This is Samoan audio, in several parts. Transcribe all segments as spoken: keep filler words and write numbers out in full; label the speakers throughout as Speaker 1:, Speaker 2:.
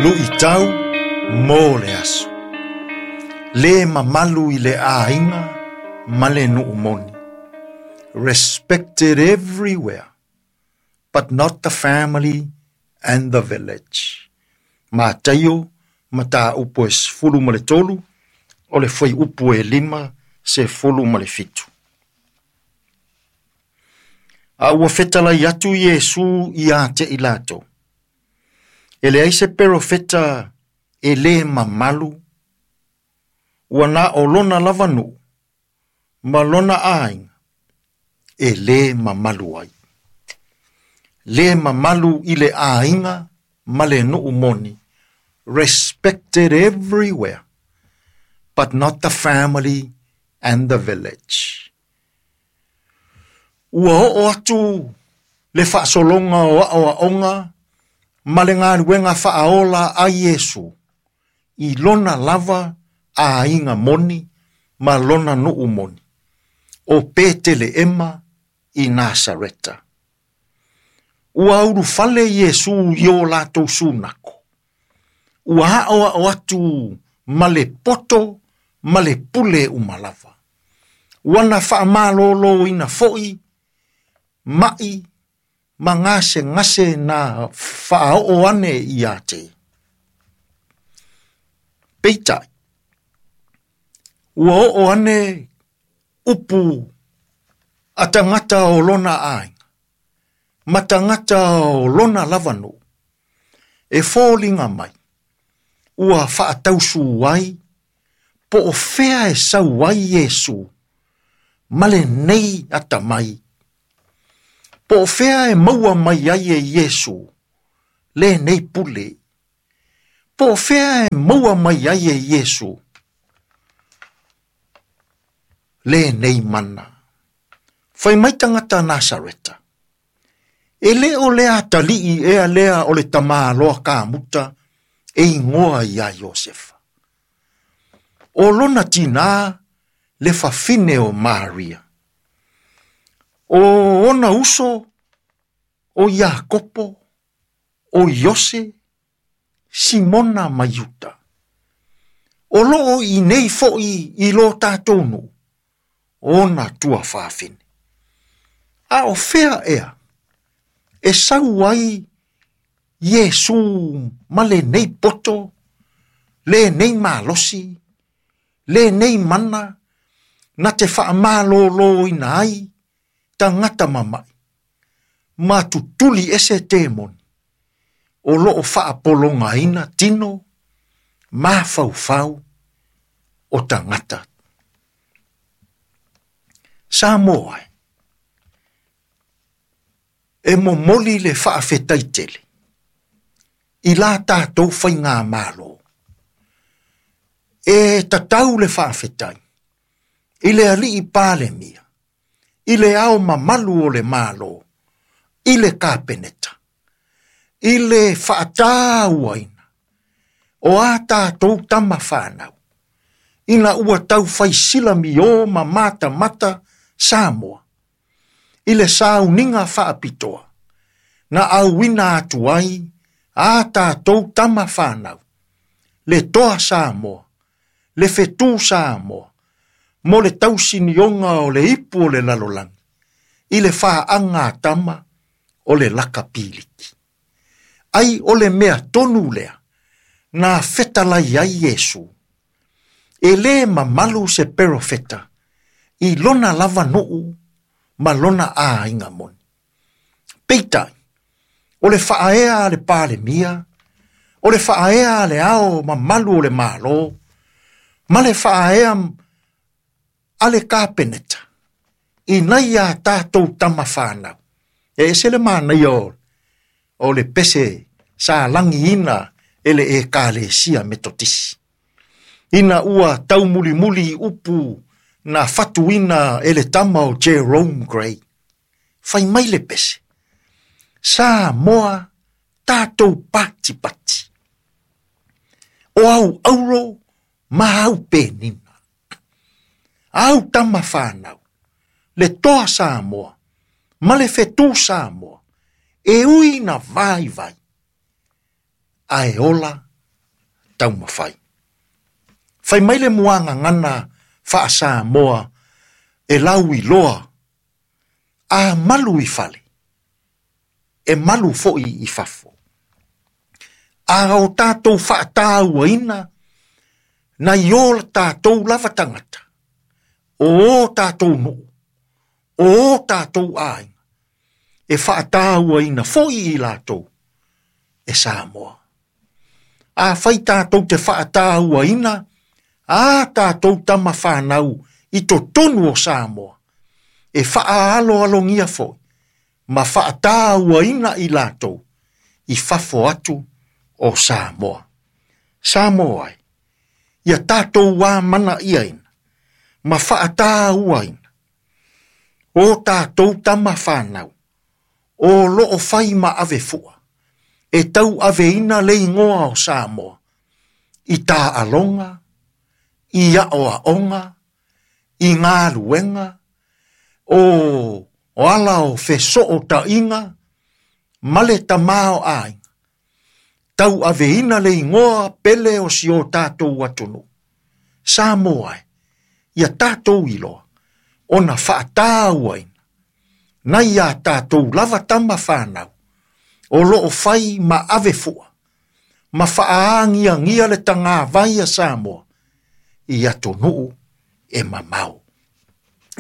Speaker 1: Luʻitau mo le aso. Lē mamalu i le aiga ma le nuu moni. Respected everywhere, but not the family and the village. Mataio, mataupu e sefulu ma le tolu, o le fuaiupu e lima, sefulu ma le fitu. A ua fetalai atu Iesu ia te i latou. E leai se perofeta e lē mamalu, ua na o lona lava nuu, ma lona aiga, e lē mamalu ai. Lē mamalu i le aiga ma le nuu moni, respected everywhere, but not the family and the village. Ua oo atu le faasologa o aoaoga ma le galuega faaola a Iesu i lona lava aiga moni ma lona nuu moni o Peteleema i Nasareta. Ua ulufale Iesu i o latou sunako. Ua aoao atu ma le poto ma le pule uma lava. Ua na faamaloloina foi mai ma gasegase na faaoo ane ia te. Peitai, ua oo ane upu a tagata o lona aiga, ma tagata o lona lava nuu, e foliga mai, ua faatausu ai, po o fea e sau ai Iesu, ma lenei atamai. Po o fea e maua mai ai e Iesu, lenei pule. Po o fea e maua mai ai e Iesu, lenei mana. Fai mai tagata Nasareta. E le o le atalii ea lea o le tamāloa kamuta e igoa ia Iosefa. O lona tinā le fafine o Maria. O ona uso o Iakopo, o Iose, Simona ma Iuta. O loo i nei foi i lo tātou nuu, ona tuafafine. A o fea ea, e sau ai Iesu ma lenei poto, lenei malosi, lenei mana, na te faamaloloina ai tagata mama'i, ma tutuli ese temoni, o loo faapologaina tino, mafaufau o tagata. Samoa e, e momoli le faafetaitele, i la tātou faigamalo. E tatau le faafetai, i le alii Palemia, i le ao mamalu o le malo, i le kapeneta, i le faatauaina, o a tātou tama whanau, ina ua tau faisila mi o ma mata mata Samoa, i le sauniga faapitoa, na auina atu ai a tātou tama whanau, le toa Samoa, le fetu Samoa, mo le tausinioga o le ipu o le lalolagi, i le faaga a tama o le lakapiliki. Ai o le mea tonu lea, na fetalai ai Iesu, e lē mamalu se perofeta, i lona lava nuu ma lona aiga moni. Peitai, o le faaea a le Palemia, o le faaea a le ao mamalu o le malo, ma le faaea a le kapeneta, ina ia tātou tama whanau. E ese le manaia o, o le pese sa langiina e le ekalesia Metotisi. Ina ua taumulimuli upu na fatuina e le tama o Jerome Gray. Fai mai le pese. Samoa tātou pati pati. O au auro ma au penina. Au tama whanau. Le toa Samoa. Ma le fetu Samoa. E ui na vai vai. Ae ola taumafai. Fai mai le muagagana faa-Samoa e lau iloa a malu i fale, e malu fo'i i fafo. A o tātou faatauaina nai o la tātou lava tagata, o o tātou nuu, o o tātou aiga, e faatauaina fo'i i latou e Samoa. A fai tātou te faatauaina a tātou tama whānau i totonu o Samoa, e whaaloalogia foi, ma faatauaina i latou i fafo atu o Samoa. Samoa ai, ia tātou wā mana iaina, ma faatauaina, o tātou tama whānau, o loo whai ma ave fua, e tau aveina le ingoa o Samoa, i tā alonga, i aoaoga, i ngā luenga, o, o ala o fesootaiga, ma le tamaoaiga, tau aveina le ingoa pele o si o tātou atunuu. Samoa e, ia tātou iloa, ona faatauaina, nai a tātou lava tama whānau, o loo whai ma ave fua, ma whaaangiangia le tagavai a Samoa, i atunuu e mamao.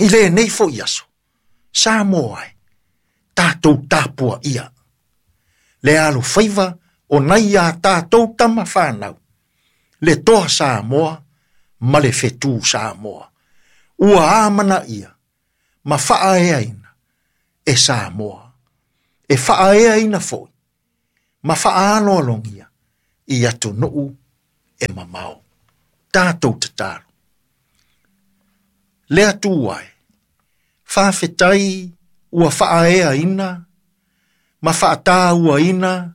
Speaker 1: I lenei fo'i aso, Samoa e, tātou tapua ia, le alofaiva o nai a tātou tama whānau, le toa Samoa ma le whetū Samoa. Ua amana ia, ma whaaeaina e Samoa. E whaaeaina foi, ma whaaloalogia i atunuu e mamao. Tātou tatalo. Le Atua e, faafetai ua faaeaina ma faatauaina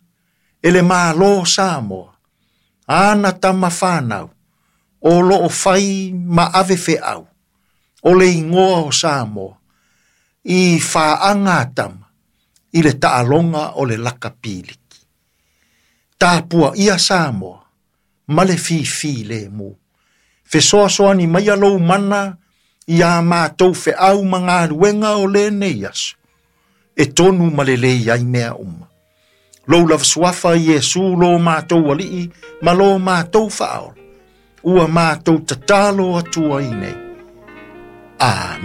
Speaker 1: e le Malo Samoa, ana tama whānau, o loo whai ma ave feau, o le ingoa o Samoa, i whaanga tama, i le taaloga o le lakapiliki. Tāpua ia Samoa, ma le fifi le mu. Fesoasoani mai a lou mana, i a mātou feau ma galuega o lenei aso, e tonu ma lelei ai mea uma. Lou lava suafa Iesu lo mātou alii, ma lo mātou faaola, ua mātou tatalo atu ai nei. Amen.